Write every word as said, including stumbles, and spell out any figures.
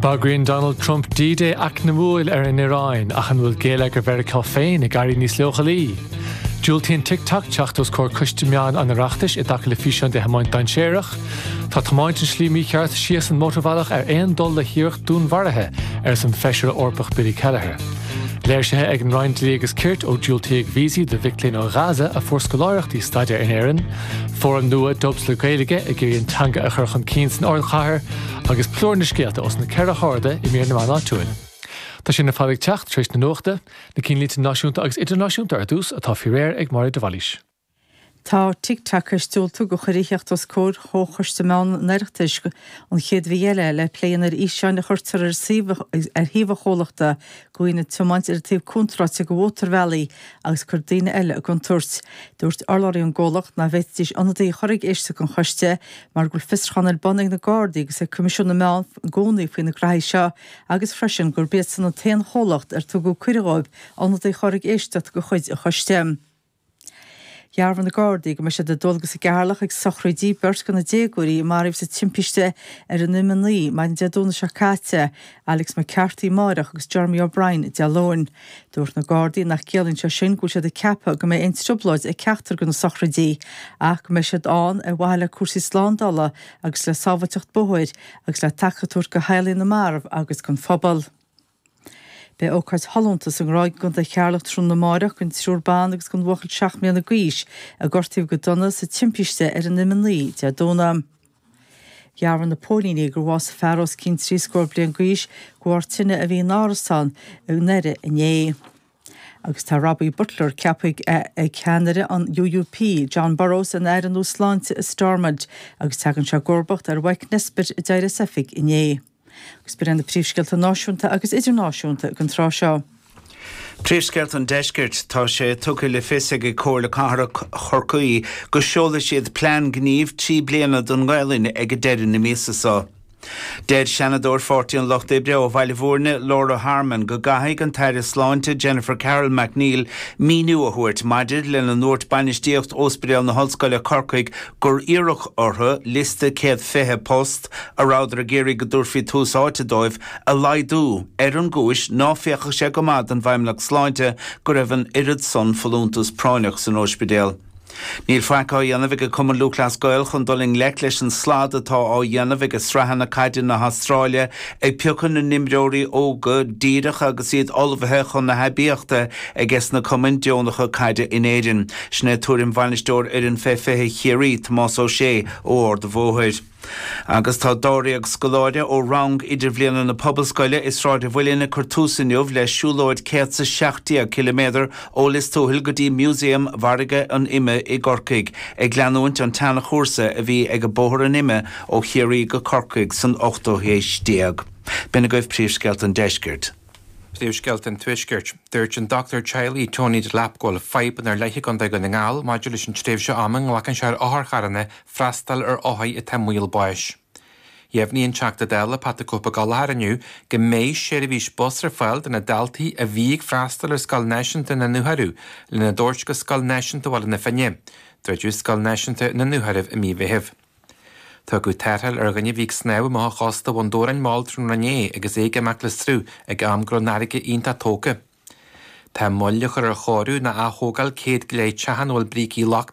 Bagraíonn Donald Trump D-Day eacnamúil ar an Iaráin ach an bhfuil géilleagar Mheiriceá féin ag éirí níos leochailí. Diúltaíonn TikTok teacht os comhair coiste meán an Oireachtais i dtaca le físeán de thiomáint dainséarach, Tá tiomáint an slí mícheart síos an mótarbhealach ar aon dul le hiarracht dúnmharaithe arsa an Feisire Eorpach Billy Kelleher. Léirsithe ag an Roinn Dlí agus Cirt ó diúltaíodh víosaí do mhic léinn ó Ghaza a fuair scoláireachtaí staidéir in Éirinn, Fóram nua Dubs le Gaeilge ag iarraidh an teanga a chur chun cinn san ardchathair agus plúr na scéalta os na ceithre hairde i mír na meán áitiúil. Tá sin ar fad ag teacht tar éis na nuachta, na cinnlínte náisiúnta agus idirnáisiúnta ar dtús atá faoi réir ag Máire de Bhailís. Tá TikTok tar éis diúltú do chuireadh a theacht os comhair Chomhchoiste Meán an Oireachtais an chéad mhí eile le plé ar fhíseáin a chuirtear ar suíomh ar shuíomh an chomhlachta de dhaoine ag tiomáint ar an taobh contráilte de mhótarbhealaí agus cur daoine eile i gcontúirt. Dúirt urlabhraí ón gcomhlacht nach bhféadfaidís ionadaí a chur ag éisteacht don choiste mar go bhfuil fiosrúchán ar bun ag na Gardaí agus ag Coimisiún na Meán i gcónaí faoi na graithí seo agus freisin gurb iadsan an t-aon chomhlacht ar tugadh cuireadh dóibh ionadaí a chur ag éisteacht de chuid an choiste. Dhearbhaigh na Gardaí go mbeidh siad ar dualgas i gCeatharlach ag sochraidí beirt de na déagóirí a maraíodh sa timpiste ar an M a naoi maidin Dé Domhnaigh seo caite, Alex McCarthy amárach agus Jeremy O'Brien Dé Luain. Dúirt na Gardaí nach gciallaíonn sé sin go bhfuil siad ag ceapadh go mbeidh aon trioblóid ag ceachtar de na sochraidí, ach go mbeidh siad ann ar mhaithe le cúrsaí slándála agus le sábháilteacht bóthair agus le taca a thabhairt do theaghlaigh na marbh agus don phobal. Beidh ócáid shollúnta sa nGráig i gContae Cheatharlach tráthnóna amárach don triúr ban agus don bhuachaill seacht mbliana d'aois a gortaíodh go dona sa timpiste ar an M a naoi Dé Domhnaigh. Dhearbhaigh na póilíní gur bhásaigh fear os cionn trí scór bliain d'aois de bharr tine a bhí in árasán i nDoire inné. Agus tá Robbie Butler ceaptha ag ceannaire an UUP, Jon Burrows ina aire nua sláinte i Stormont, agus tagann sé i gcomharbacht ar Mike Nesbitt a d'éirigh as oifig inné. Agus b'in na príomhscéalta náisiúnta agus idirnáisiúnta don tráth seo. Príomhscéalta an deiscirt tá sé tugtha le fios ag Comhairle Cathrach Chorcaí go seolfaidh siad plean gnímh trí bliana don Ghaelainn ag deireadh na míosa seo. Deir Seanadóir Pháirtí an Lucht Oibre ó Bhaile Bhúirne Laura Harmon go gcaithfidh an tAire Sláinte Jennifer Carroll MacNeill míniú a thabhairt maidir lena ndúirt bainistíocht Ospidéal na hOllscoile Corcaigh gur iarradh orthu liosta céad fiche post a rabhadar ag iarraidh go dtabharfaí tús áite dóibh a laghdú ar an gcúis ná féachadh sé go maith don bhFeidhmeannacht Sláinte go raibh an oiread san folúntas práinneach san ospidéal. Níl faic á dhéanamh ag Cumann Lúthchleas Gael chun dul i ngleic leis an slad atá á dhéanamh ag sraitheanna caide na hAstráile ag piocadh na n-imreoirí óga díreach agus iad ullmhaithe chun na haibíochta ages na cumainn deonacha caide in Éirinn. Sin é tuairim bhainisteoir fhoireann fé fiche Chiarraí Tomás Ó Sé ó Ard an Bhóthair. Agus tá dáréag scoláire ó rang idirbhliana na Pobalscoile i Sráid an Mhuilinn ag cur tús inniu le siúlóid céad is a seacht déag ciliméadar ó Lios Tuathail go dtí Músaem Mhargadh an Ime i gCorcaigh, ag leanúint an tseanchúrsa a bhí ag Bóthar an Ime ó Chiarraí go Corcaigh san ochtú haois déag. B'in agaibh príomhscéalta an deiscirt. Príomhscéalta an tuaiscirt. Dúirt an dochtúir teaghlaigh Tony Delap go bhfuil fadhb ar leith i gContae Dhún na nGall maidir leis an tréimhse ama a nglacann sé ar otharcharranna freastal ar othair atá i mbaol báis. Dheimhnigh an Teachta Dála Pat the Cope Gallagher inniu go mbeidh seirbhís bus ar fáil do na daltaí a bhí ag freastal ar Scoil Náisiúnta na nDúchoradh lena dtabhairt go Scoil Náisiúnta Bhaile na Finne. Druideadh Scoil Náisiúnta na nDúchoradh i mí Mheithimh. Tugadh tarrtháil ar dhuine a bhí ag snámh amach ó chósta Bhun Dobhráin mall tráthnóna inné agus é ag imeacht le sruth ag am go raibh an fharraige iontach tógtha. Tá moill á chur ar chóiriú nó athógáil céad go leith teach ina bhfuil brící lochtacha